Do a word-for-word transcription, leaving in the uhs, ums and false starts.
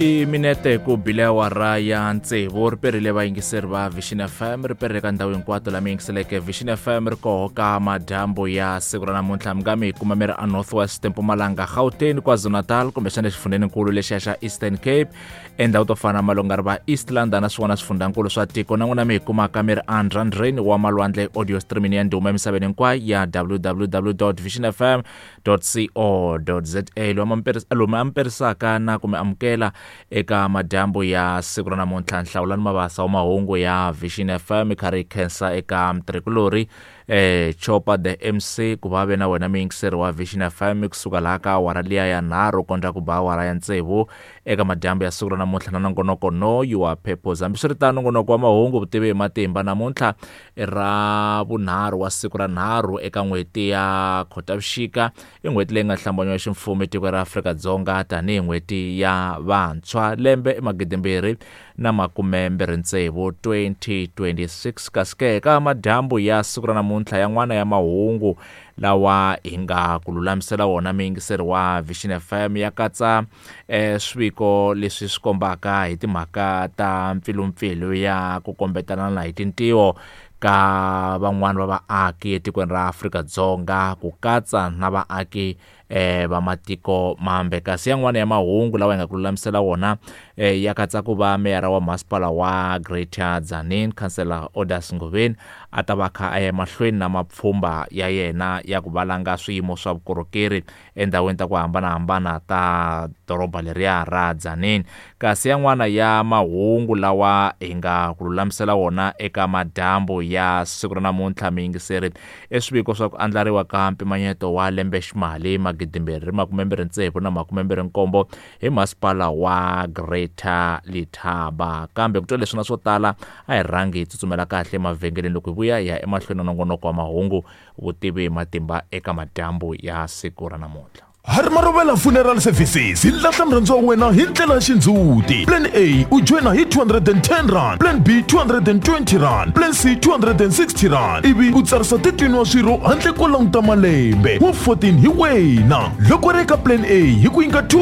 I minete ku bile awara ya tsevu ri perile vayingiseri va Vision F M, ri perile ka ndhawu hinkwato lama yingiseleke Vision F M. Ri koho ka madyambu ya siku ra namuntlha, mi nga mi hi kuma mi ri a North West, Mpumalanga, Gauteng, KwaZulu-Natal, kumbexana xifundzheninkulu lexiya xa Eastern Cape, endhawu to fana na malonga ri va East London na swin'wana swifundzhankulu swa tiko. Na n'wina mi hi kumaka mi ri andrandreni wa malwandle, audio streaming ya ndhuma emisaveni hinkwayo ya W W W vision F M co za. Lomu a mi perisaka na ku mi amukela eka madyambu ya siku ra namuntlha, Nhlawulani Mabasa wa mahungu ya Vision F M. Kha ri khensa eka mtirhikulori eh Chopa the M C ku va ve na wena muyingiseri wa Vision F M kusuka laha ka awara liya ya nharhu kondza ku ba awara ya tsevu eka madyambu ya siku ra namuntlha na nongonoko Know Your Purpose. Hambiswiritano, nongonoko wa mahungu Vutivi hi Matimba namuntlha i ra vunharhu wa siku ra nharhu eka n'hweti ya Khotavuxika, i n'hweti leyi nga hlambanyiwa ximfumo etikweni ra Afrika-Dzonga tanihi n'hweti ya vantshwa, lembe i magidimbirhi na makume mbirhi tsevu, twenty twenty-six. Kasi ke ka madyambu ya siku ra namuntlha, yan'wana ya mahungu lawa hi nga ku lulamisela wona muyingiseri wa Vision F M ya katsa eh, swiviko leswi swi kombaka hi timhaka ta mpfilumpfilu ya ku kombetanana hi tintiho ka van'wani va vaaki etikweni ra Afrika-Dzonga, ku katsa na vaaki eh va matiko mambe. Kasi yan'wana ya mahungu lawa hi nga ku lulamisela wona eh, ya katsa ku va meyara wa masipala wa Greater Tzaneen, Councillor Odas Ngoveni, a ta va kha a ya emahlweni na mapfhumba ya yena ya ku valanga swiyimo swa vukorhokeri endhawini ta ku hambanahambana ta doroba leriya ra Tzaneen. Kasi yan'wana ya mahungu lawa hi nga ku lulamisela wona eka madyambu ya siku ra namuntlha, miyingiseri, i swiviko swa ku andlariwa ka mpimanyeto wa lembe ximali magidimbirhi makume mbirhi tsevu na makume mbirhi nkombo hi masipala wa Greater Letaba. Kambe ku twa leswi na swo tala, a hi rhangi hi tsutsumela kahle emavhengeleni. Loko hi vuya, hi ya emahlweni na nongonoko wa mahungu Vutivi hi Matimba eka madyambu ya siku ra namuntlha. Hari Marovela Funeral Services hi lahla murhandziwa wa wena hi ndlela ya xindzhuti. Plan A, u joyina hi two hundred and ten rand, plan B two hundred and twenty rand, plan C two hundred and sixty rand, ivi u tsarisa thirteen wa swirho handle ko languta malembe, wa fourteen hi wena. Loko ri eka plan A hi ku nyika two